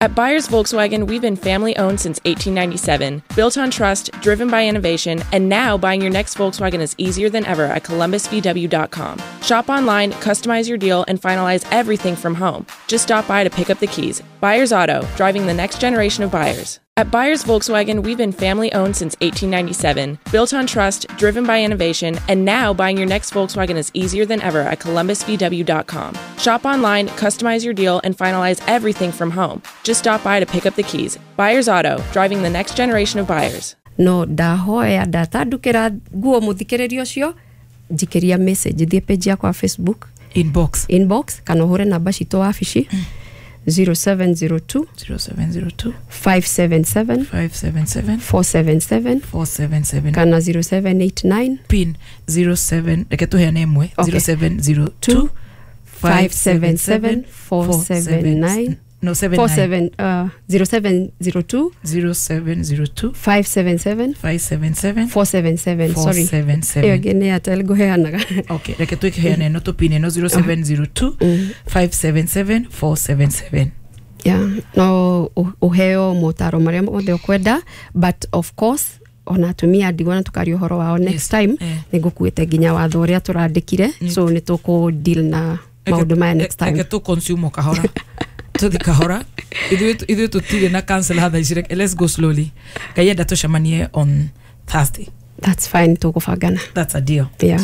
At Buyers Volkswagen, we've been family owned since 1897, built on trust, driven by innovation, and now buying your next Volkswagen is easier than ever at columbusvw.com. Shop online, customize your deal, and finalize everything from home. Just stop by to pick up the keys. Buyers Auto, driving the next generation of buyers. At Buyers Volkswagen, we've been family owned since 1897, built on trust, driven by innovation, and now buying your next Volkswagen is easier than ever at columbusvw.com. Shop online, customize your deal, and finalize everything from home. Just stop by to pick up the keys. Buyers Auto, driving the next generation of buyers. No ndahoya ndatandukĩra nguo mũthikĩrĩria ũcio, njikĩria message, thiĩ page yakwa ya Facebook. Inbox. Inbox kana ũhũre namba citũ wabici, 0702 0702 577 577 477 477 kana 0789. Pin 07, reke tũheane ĩmwe. Okay. 0702 577 479. No, 79. 47, 0702 0702 577 577 477, sorry. 477. Ĩyo ĩngĩ nĩ Airtel ngũheanaga. Okay, reke twĩheane ĩno, tũpin ĩno, 0702 577 477. Yeah, no ũheo motaro marĩa mothe ũkwenda, but of course ona atumia ndigwa na tukaria ũhoro wao next time. Nĩ ngũkuĩte nginya watho ũrĩa tũrandĩkire, so nĩ tũkũ deal na maũndũ maya next time. Reke tũ consume o kahora, tũthi kahora, ithuĩ tũtirĩ na cancel hatha ici. Let's go slowly. Ngai enda tũcemanie on Thursday. That's fine, tũkũbangana. That's a deal. Yeah.